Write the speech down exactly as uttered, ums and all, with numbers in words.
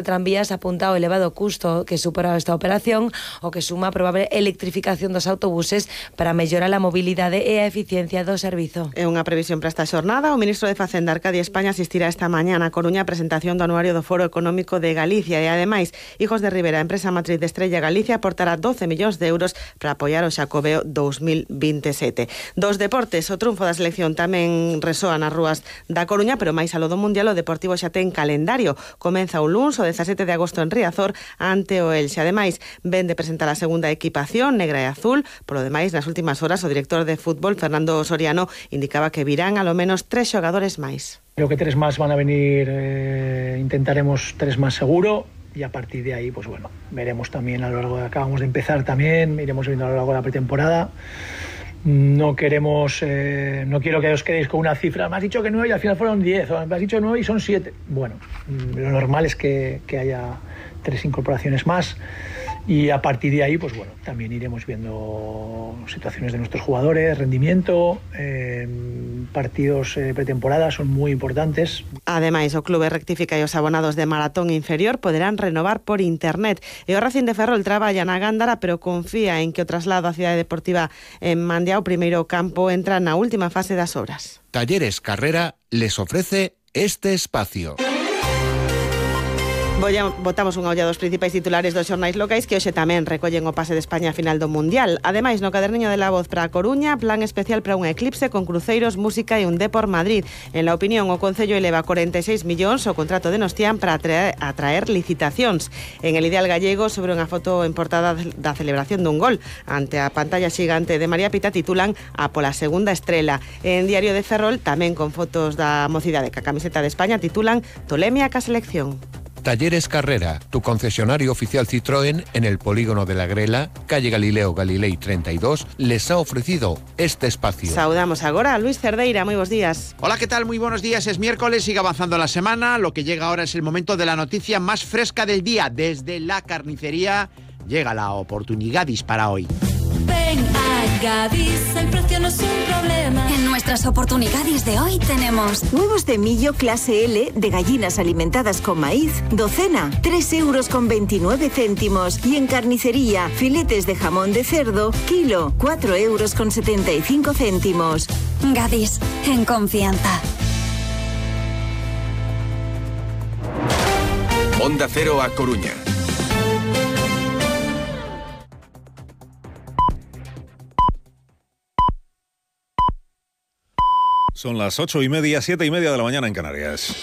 Tranvías apunta ao elevado custo que supera esta operación, o que suma a probable electrificación dos autobuses para mellorar a mobilidade e a eficiencia do servizo. É unha previsión para esta xornada. O ministro de Facenda, Arcadio España, asistirá esta mañá na Coruña a presentación do anuario do Foro Económico de Galicia e, ademais, Hijos de Ribera, a empresa matriz de Estrella Galicia, aportará doce millóns de euros para apoiar o Xacobeo dous mil veintesete. Dos deportes, o triunfo da selección tamén resoa nas rúas da Coruña, pero máis aló do Mundial, o Deportivo xa ten calendario. Comeza o luns, o dezasete de agosto en Riazor, ante o Elxe. Ademais, ven de presentar a segunda equipación negra e azul. Polo demais, nas últimas horas, o director de fútbol, Fernando Soriano, indicaba que virán a lo menos tres xogadores máis. Creo que tres más van a venir, eh, intentaremos tres más seguro, y a partir de ahí, pues bueno, veremos también a lo largo de, acabamos de empezar también, iremos viendo a lo largo de la pretemporada. No queremos, eh, no quiero que os quedéis con una cifra, me has dicho que nueve y al final fueron diez, o me has dicho nueve y son siete. Bueno, lo normal es que, que haya tres incorporaciones más, y a partir de ahí, pues bueno, también iremos viendo situaciones de nuestros jugadores, rendimiento, eh, partidos eh, pretemporada son muy importantes. Ademais, o clube rectifica e os abonados de maratón inferior poderán renovar por internet. E o Racing de Ferrol traballa na Gándara, pero confía en que o traslado á cidade deportiva en Mandia, o primeiro campo, entra na última fase das obras. Talleres Carrera les ofrece este espacio. Bolla, botamos unha olla dos principais titulares dos xornais locais que hoxe tamén recollen o pase de España a final do Mundial. Ademais, no caderniño de La Voz para a Coruña, plan especial para un eclipse con cruceiros, música e un Depor Madrid. En La Opinión, o Concello eleva corenta e seis millóns o contrato de Nostián para atraer, atraer licitacións. En El Ideal Gallego, sobre unha foto en portada da celebración dun gol ante a pantalla xigante de María Pita, titulan a pola segunda estrela. En Diario de Ferrol, tamén con fotos da mocidade ca camiseta de España, titulan Tolemia ca selección. Talleres Carrera, tu concesionario oficial Citroën en el polígono de la Grela, calle Galileo Galilei treinta y dos, les ha ofrecido este espacio. Saudamos agora a Luis Cerdeira, moi bons días. Hola, ¿qué tal? Muy buenos días, es miércoles, sigue avanzando la semana, lo que llega ahora es el momento de la noticia más fresca del día. Desde la carnicería llega la oportunidad para hoy. Ven a Gadis, el precio no es un problema. En nuestras oportunidades de hoy tenemos huevos de millo clase L de gallinas alimentadas con maíz, docena, tres euros con veintinueve céntimos. Y en carnicería, filetes de jamón de cerdo, kilo, cuatro euros con setenta y cinco céntimos. Gadis, en confianza. Onda Cero a Coruña. Son las ocho y media, siete y media de la mañana en Canarias.